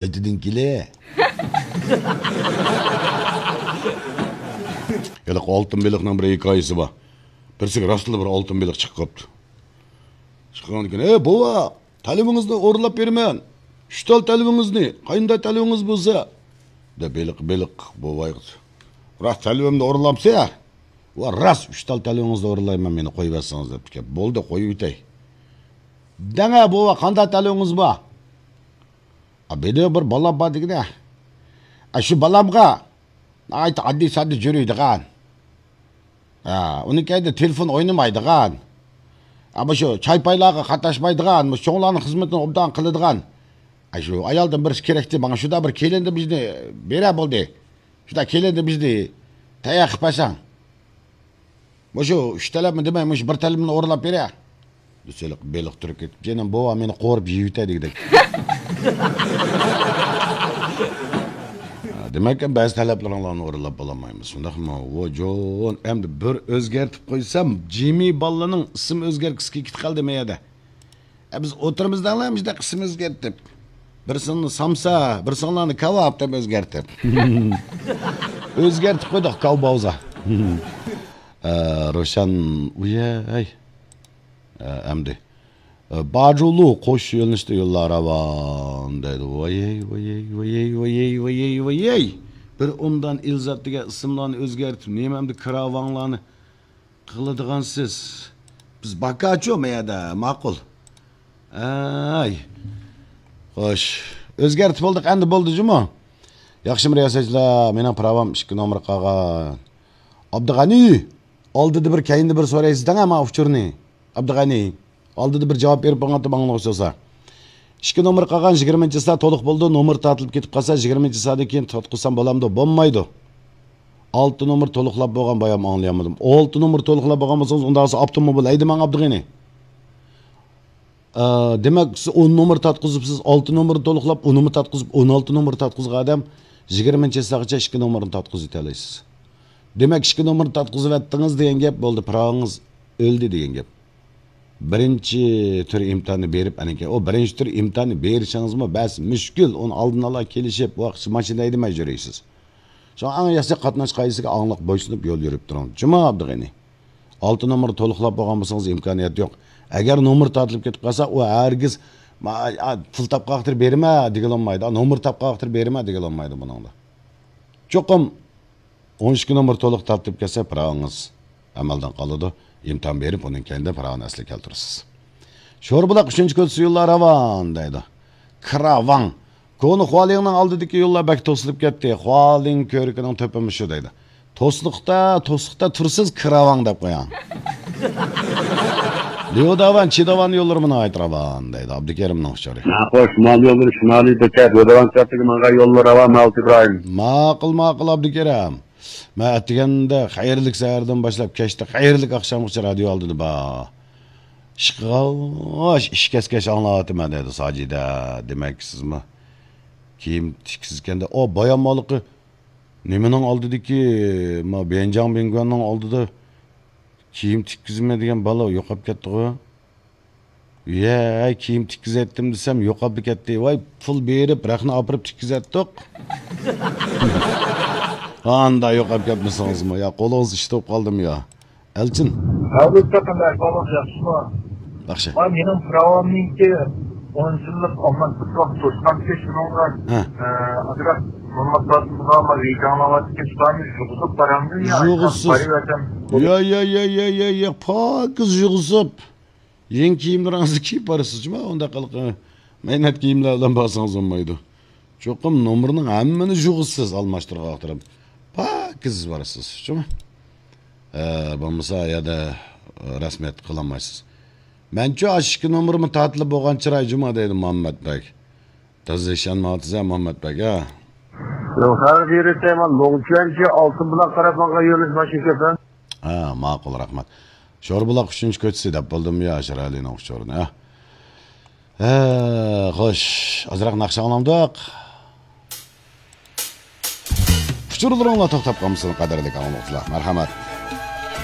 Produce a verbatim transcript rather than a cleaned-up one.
قايتىدىن كېلە. ھېلىقى ئالتۇن بېلىقنىڭ بىر ھېكايىسى بار. بىرسىگە راستلا بىر ئالتۇن بېلىق چىقىپ قاپتۇ. چىققاندىن كېيىن، «ئەي، بوۋا، تەلۋىڭىزنى ئورۇنلاپ بېرىمەن. ئۈچ تال تەلۋىڭىزنى، قاينىدا تەلۋىڭىز بولسا.» دەپ بېلىق، بېلىق بوۋايغا، «راست تەلۋىمنى ئورۇنلامسىز؟» «ۋە راست ئۈچ تال تەلۋىڭىزنى ئورۇنلايمەن، مېنى قويۇۋەتسىڭىز» دەپتىكەن. «بولدى، قويۇۋېتەي.» «دەڭە بوۋا، قانداق تەلۋىڭىز بار؟» «ئا، بىدە بىر بالام بار دېگىنە. ئا، شۇ بالامغا ناھايىتى ئاددىي ساددا يۈرىدىغان. ھە، ئۇنىڭ كەينىدە تېلېفون ئوينىمايدىغان. ئا، مۇشۇ چاي-پايلارغا قاتناشمايدىغان، مۇشۇ چوڭلارنىڭ خىزمىتىنى ئوبدان قىلىدىغان. ئا، شۇ ئايالدىن بىرسى كېرەكتى ماڭا، شۇنداق بىر كېلىننى بىزنى بېرە بولدى. شۇنداق كېلىننى بىزنى تەييار قىلىپ بەرسەڭ.» «مۇشۇ ئۈچ تەلەپمۇ دېمەي، مۇشۇ بىر تەلىپىمنى ئورۇنلاپ بېرە.» دېسە، بېلىق تۇرۇپ كېتىپ، «جېنىم بوۋا، مېنى قورۇپ يېيىۋېتە» دېگۈدەك. ھە، دېمەك، بەزى تەلەپلىرىڭلارنى ئورۇنلاپ بولالمايمىز، شۇنداقمۇ؟ ۋوجون، ئەمدى بىر ئۆزگەرتىپ قويسام، جىمى بالىنىڭ ئىسىم ئۆزگەرتكۈسى كېتىپ قالدى مەيەدە. ئە، بىز ئولتۇرىمىز دەڭلار، مۇشۇنداق ئىسىم ئۆزگەرتىپ. بىرسىڭلارنى سامسا، بىرسىڭلارنى كاۋاپ دەپ ئۆزگەرتىپ. ئۆزگەرتىپ قويدۇق، كاۋباۋزا. ئە، روشەن، ئۇيەي. ئە، ئەمدى. ئە، باجۇلۇ قوش يۆنىلىشتە يوللار راۋان دەيدۇ. ۋايەي، ۋايەي، ۋايەي. بىر ئومدان ئىلزات دېگەن ئىسىملارنى ئۆزگەرتىپ، نېمە ئەمدى كىراۋاڭلارنى قىلىدىغانسىز. بىز باكاچۇ مەيەدە، ماقۇل. ئەي. خوش. ئۆزگەرتىپ بولدۇق، ئەمدى بولدى جۇمۇ. ياخشىمۇ رىياسەتچىلەر، مېنىڭ پىراۋام ئىككى نومۇر قالغان. ئابدۇغەنى، ئالدىدا بىر، كەينىدە بىر سورايسىز دەڭە ماڭا ئۇچۇرنى. ئابدۇغەنى، ئالدىدا بىر جاۋاب بېرىپ بېقىڭ، ئاڭلىغۇچى بولسا. ئىككى نومۇر قالغان، يىگىرمىنچى سائەت تولۇق بولىدۇ، نومۇر تارتىلىپ كېتىپ قالسا، يىگىرمىنچى سائەتتىن كېيىن تارتقۇزسام بولامدۇ؟ بولمايدۇ. ئالتە نومۇر تولۇقلاپ بولغان، بايام ئاڭلىيالمىدىم. ئالتە نومۇر تولۇقلاپ بولغان بولسىڭىز، ئۇنداق بولسا ئاپتوموبىل ھەيدىمەڭ ئابدۇغېنى. ئە، دېمەك، سىز ئون نومۇر تارتقۇزۇپسىز، ئالتە نومۇرنى تولۇقلاپ، ئونىمۇ تارتقۇزۇپ، ئون ئالتە نومۇر تارتقۇزغان ئادەم يىگىرمىنچى سائەتكىچە ئىككى نومۇرنى تارتقۇزۇۋېتەلەيسىز. دېمەك، ئىككى نومۇرنى تارتقۇزۇۋەتتىڭىز دېگەن گەپ بولدى، پىراۋىڭىز ئۆلدى دېگەن گەپ. بىرىنچى تۈر ئىمتىھاننى بېرىپ، ئەنىكى، ئۇ بىرىنچى تۈر ئىمتىھاننى بېرىشىڭىزمۇ بەس مۈشكۈل، ئۇنى ئالدىن ئالا كېلىشىپ، ۋاقىت ماشىنا ھەيدىمەي يۈرىسىز. شۇڭا ئەڭ ياخشى قاتناش قايسىسىگە ئاڭلىق بويسۇنۇپ يول يۈرۈپ تۇرۇڭ. جۇمۇ ئابدۇغېنى. ئالتە نومۇر تولۇقلاپ بولغان بولسىڭىز ئىمكانىيەت يوق. ئەگەر نومۇر تارتىلىپ كېتىپ قالسا، ئۇ ھەرگىز، ما-، ئا، پۇل تاپقان ۋاقتىدا بېرىمە دېگىلى بولمايدۇ. نومۇر تاپقان ۋاقتىدا بېرىمە دېگىلى بولمايدۇ بۇنىڭدا. چوقۇم ئون ئىككى نومۇر تولۇق تارتىپ كەلسە، پىراۋىڭىز ئەمەلدىن قالىدۇ. ئىمتىھان بېرىپ، ئۇنىڭ كەينىدە پىراۋىنى ئەسلىگە كەلتۈرىسىز. شوربۇلاق ئۈچىنچى كوچىسى يوللار راۋان دەيدۇ. كىراۋاڭ. كونا خۇالىڭنىڭ ئالدىدىكى يوللار بەك توسۇلۇپ كەتتى. خۇالىڭ كۆۋرۈكىنىڭ تۆپى مۇشۇ دەيدۇ. توسلۇقتا، توسلۇقتا تۇرسىز كىراۋاڭ دەپ قويۇڭ. ليۇداۋان، چىداۋان يوللىرىمۇ ناھايىتى راۋان دەيدۇ. ئابدۇكېرىمنىڭ ئۇچۇرى. ناخوش، شىمال يوللىرى شىمالىي بېكەت، ليۇداۋان سىرتىگە ماڭغان يوللار راۋان، مەۋلۇت ئىبراھىم. ماقۇل، ماقۇل، ئابدۇكېرىم. مەن ئەتىگەندە خەيرلىك سەھەردىن باشلاپ كەچتە خەيرلىك ئاخشامغىچە رادىيو ئالدىدا بار. ئىشقىغاچ، ئىش كەسكەچ ئاڭلاۋاتىمەن دەيدۇ ساجىدە. دېمەك، سىزمۇ كىيىم تىككۈزگەندە، ئو، بايام ھېلىقى نېمىنىڭ ئالدىدىكى، ما، بيەنجاڭ بىڭگۈەننىڭ ئالدىدا كىيىم تىككۈزىمەن دېگەن بالا يوقاپ كەتتىغۇ. يە، كىيىم تىككۈزەتتىم دېسەم، يوقاپلا كەتتى. ۋاي، پۇل بېرىپ، رەخنە ئاپىرىپ تىككۈزەتتۇق. ئاندا يوقاپ كەتمىسىڭىزمۇ، يا، قولىڭىز ئىشتە بولۇپ قالدىمۇ يا؟ ئەلچىن. ھەبىبۇكا، قانداق ئەھۋالىڭ، ياخشىمۇ؟ ياخشى. ۋاي، مېنىڭ پىراۋامنىڭكى ئون يىللىق ئامانلىق توشقانتى شۇنىڭغا، ھە، ئە، ئازراق مۇماتلاتمىغان ۋە ۋىجاڭلاۋاتىدىكەن، شۇلارنى يۇغۇزۇپ بارامدۇ يا؟ يۇغۇزسىز. بارىۋەتەم. يا، يا، يا، يا، يا، يا، پاكىز يۇغۇزۇپ. يېڭى كىيىملىرىڭىزنى كىيىپ بارىسىز جۇما، ئۇنداق قىلىپ مەينەت كىيىملەر بىلەن بارسىڭىز بولمايدۇ. چوقۇم نومۇرنىڭ ھەممىنى يۇغىسىز، ئالماشتۇرغان ۋاقتىدا پاكىز بارىسىز جۇما. ئە، بولمىسا يەردە رەسمىيەت قىلالمايسىز. مەنچۇ ئاشۇ ئىككى نومۇرمۇ تارتىلىپ بولغان چىراي جۇما دەيدۇ مۇھەممەت بەگ. تازا ئىشەنمەيۋاتىسەن مۇھەممەت بەگ ھە. لوڭخەغە بېرىسەن، لوڭچۈەنچى ئالتۇن بۇلاق تەرەپ ماڭغان يۆنىلىش ماشىنا كەپەن. ھە، ماقۇل، رەھمەت. شوربۇلاق ئۈچىنچى كوچىسى دەپ بولدۇممۇ يا، شىرئەلىنىڭ ئۇچۇرىنى، ھە؟ ھە، خوش، ئازراق ناخشا ئاڭلامدۇق؟ ئۇچۇرلىرىڭلار توختاپ قالمىسۇن، قەدىرلىك ئاڭلىغۇچىلار، مەرھەمەت.